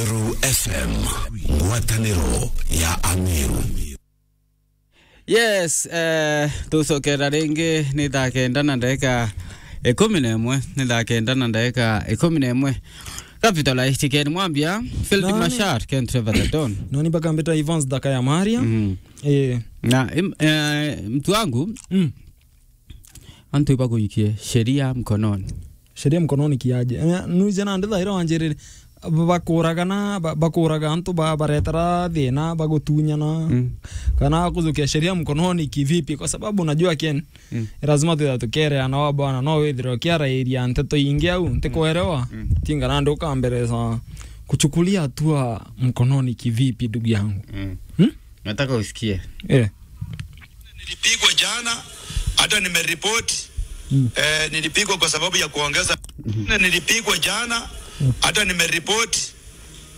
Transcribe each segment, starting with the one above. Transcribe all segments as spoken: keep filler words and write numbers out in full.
Meru F M, ngwataniro ya Ameru. Yes, eh, tucokera ringi ni thaa kenda na ndagika ikumi na imwe, ni thaa kenda na ndagika ikumi na imwe. Capital H T Ken Mwambia, Field Nani? Mashar, Ken Trevor the Don. Nani mpaka mbita Evans Daka ya Maria? Mhm. Eh. Na, im-, eh, mtu wangu, Mm. antu ibaguikie sheria mkononi. Sheria mkononi kiaje? Eh, nuije nandi thaira wanjirire, bakuragana, ba-, bakuraga antu ba-, baretera thina, bagutunyana. Mm. Kana kujukia sheria mkononi kivipi? Kwa sababu unajua Ken, Mm. lazima tuya tukereana wa bwana, no withire ukiarairia nteto ingi au, ntikuerewa. Mm. Tinga nandi ukamberesa kuchukulia hatua mkononi kivipi, ndugu yangu? Mm. Hmm? Nataka usikie. Eh. Nilipigwa jana, hata nimeripoti. Mm. Eh, nilipigwa kwa sababu ya kuongeza. Mhm. Nilipigwa jana, Mm. hata nimeripoti.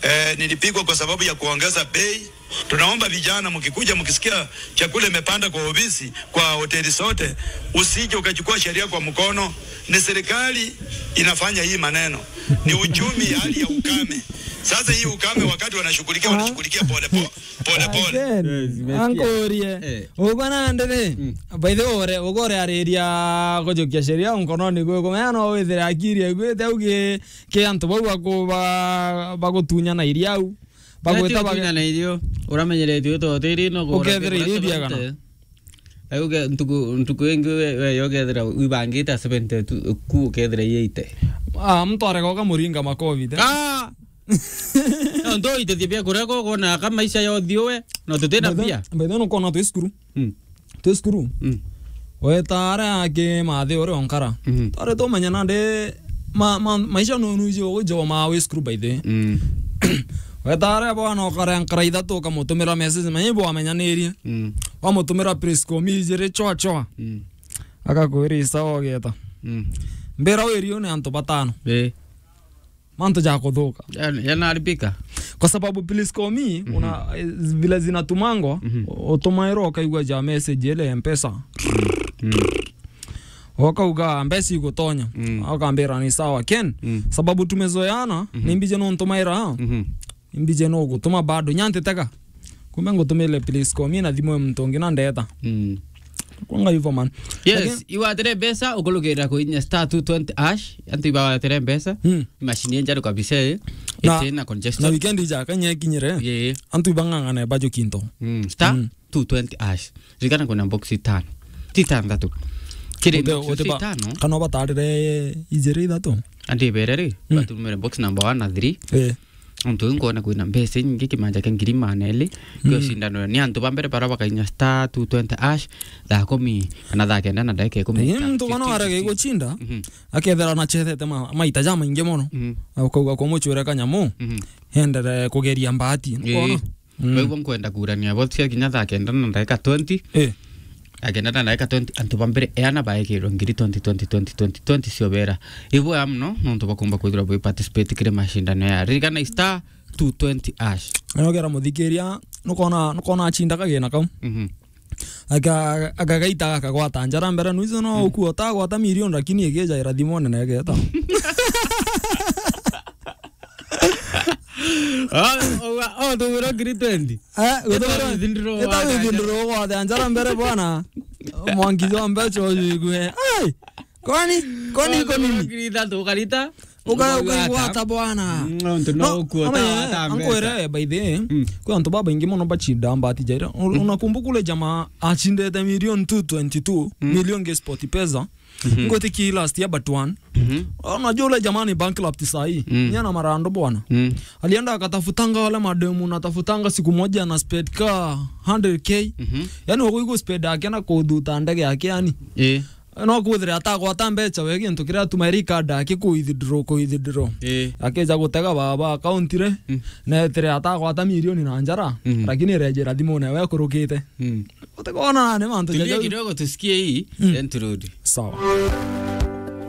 Eh, nilipigwa kwa sababu ya kuongeza bei. Tunaomba vijana, mkikuja mkisikia chakula imepanda kwa ofisi, kwa hoteli zote, usije ukachukua sheria kwa mkono. Ni serikali inafanya hii maneno. Ni uchumi, hali ya ukame. Sasa hii ukame, wakati wanashughulikia, Ah. wanashughulikia pole po-, pole pole. Again, Yes, nimesikia. ankurie. Eh. Uba nandi ri? Mm. By the way, ugore ariria kujukia sheria mkononi gwe, kumenya no withire akiri aiguite au ki, ki antu bau baku-, ba-, bagutunyana iria au. Bagwita Ati bage- utunyana irio, uramenyeretio to tiri no kugura Ukethira irio kigura biagana. seventy. Ai uke-, ntuku, ntuku ingi we, we yokethira wibangite seventy tu, ku ukethira eighty. Ah, mtu arega ukamuringa makovi te. Ah! No, ndo itethia bia kurega ukonaga ka maisha yothi uwe, no tutina By the, mbia. by the way, nukona twi cukuru. Mm. Twi cukuru. Mm. Weta aria aki mathi uri onkara. Mhm. Twari tumenya nandi ma-, ma-, maisha no nuji ujo ma wi cukuru by the way. Mm. Weta aria bwana ukare nkara ithatu ukamutumira message, menya ibo wamenyanirie. Mm. Wamutumira Prisco mi ijiri chwa chwa. Mm. Akakwira isawa ugeta. Mm. Mbira wiri ni antu batano. Eh. Mantu ja kuthuka. Yan-, yanaribika. Kwa sababu please call me, Mhm. una, eh, vile zinatumangwa, Mhm. u-, utumairwa ukaigua ja message ile ya Mpesa. Mm. Ukauga, "Mbeca igutonya." Mm. Ukambira, "Ni sawa, Ken." Mm. Sababu tumezoeana, Mhm. ni mbije no ntumaira. Mhm. Ni mbije no gutuma bado. Nyantitega. Kumbe ngutumile please call me na thimu ya muntu ungi na ndeta. Mm. Kwanga hivyo, man. Yes, Lakini iwatire mbeca, ukurukirira kuinya star two twenty hash, antu ibawatire mbeca, Mm. machine injaru kabisa, eh. Na, Ite na congestion. na weekend ija kanya ikinyire. Yeah. Antu ibang'ang'ane bajo kinto. Mm, star Mm. two twenty hash. Ririkana kwina box itano. Ti itantatu. Kiri Ute-, box uteba-, itano. kana ubatarire ijiri ithatu? Andi ibere ri, Mm. batumire box number one na three. Eh. Antu iu nkwona kwina mbeca inyingi, kimanja kia ngiri magana eri, Mm. kio cindano ni antu ba mbere bara bakainya star two twenty hash, thaa kumi kana thaa kenda na ndagika ikumi. Lakini muntu kana warega gucinda, Mhm. akethira na chethete ma-, maita ja maingi mono. Mhm. Na ukauga kumucwira kanyamu, Mhm. endere kugeria mbati. Ii. Nkwona? Mm. Kwa hivyo nkwenda kurania bo cia kinya thaa kenda na ndagika twenty. Eh. Akenda na ndagika twenty, antu ba mbere eana baekirwe ngiri twenty, twenty, twenty, twenty, twenty ciobera. Ibwega muno, nontu bakumba kwithirwa bwi participate kiri mashindano ya. Ririkana star two twenty hash. Nogera muthikiria, nukona, nukona achinda kagina kau. Mhm. Aka-, akagaita akagwata njara mbere, nuizo no Mm. ukua utagwata milioni, lakini igeja irathimo nene igeta. Ah, oh, oh, tugwirwo ngiri twenty. Eh, guthura, Ita withindiro ita wa withindiro gwathe njara mbere bwana. Mwangi jwa mbeca ujigue. Ai! Kwani, kwani iko nini? Ngiri ithatu ukarita. Uka-, Ukaigua ukaigwata ata? bwana. Mm, nontu no No, ukua ama utagwata ya, mbeca. Ankwere, by the way, Mm. kwi antu babaingi mono bachinda mbati jaira. U-, Mm. unakumbuka ule jamaa achindete milioni two twenty-two, Mm. milioni ge sport pesa. Mhm. Ngwitikia last year but one. Mhm. Unajua ule jamaa ni bankrupt saa hii. Mm. Ni ana marando bwana. Mm. Alienda akatafutanga wale mademu, natafutanga siku moja na spend ka hundred K. Mhm. Yaani, wako iko spend yake na kuthuta ndege yake, yaani. Eh. No kwithira atagwata mbeca, we gintu kiria atuma eri card yake ku withdraw, ku withdraw. Eh. Akeja gutega baba account re, Mm. na etire atagwata milioni na njara, Mhm. lakini irejera thimune we kurukite. Mm. Utikona ni mantu Tulie jaja kidogo tusikie hii Mm. interlude. Sawa.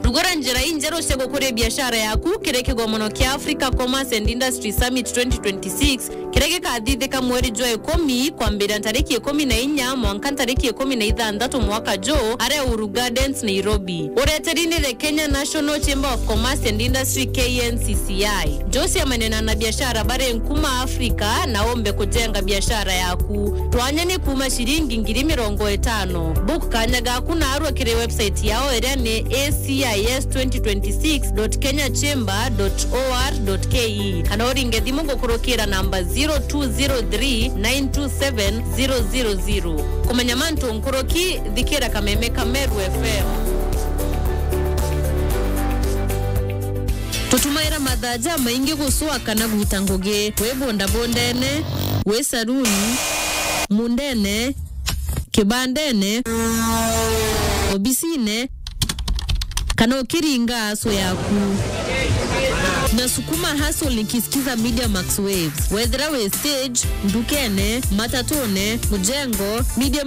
Rugora Njira injeru cia gukuria biashara yaku kiri kigomono kia Africa Commerce and Industry Summit twenty twenty-six, kiria gikathithika mweri jwa ikumi, kwambiria ntariki ikumi na inya mwanka ntariki ikumi na ithanthatu mwaka juu, aria Uhuru Gardens, Nairobi. Ureteri ni the Kenya National Chamber of Commerce and Industry, K N C C I. Jose amenena na biashara bari nkuma Afrika na ombe kujenga biashara yaku. Twanya ni kuma ciringi ngiri mirongo itano. Book kanya gaku narua kiri website yao iria ni A C I S twenty twenty-six dot kenya chamber dot O R dot K E, kana uringe thimu gukurukira namba zero two zero three nine two seven zero zero zero. Kumenya mantu nkuruki, thikira kameme ka Meru F M. Tutumaira mathaa jamaingi gucwa kana gwita ngugi, wi bondabondene, wi saruni, mundene, kibandene, obisine, kana ukiringa aso yaku. Na sukuma hustle nikisikiza Media Max Waves. Wethira wi stage, ndukene, matatune, mujengo, media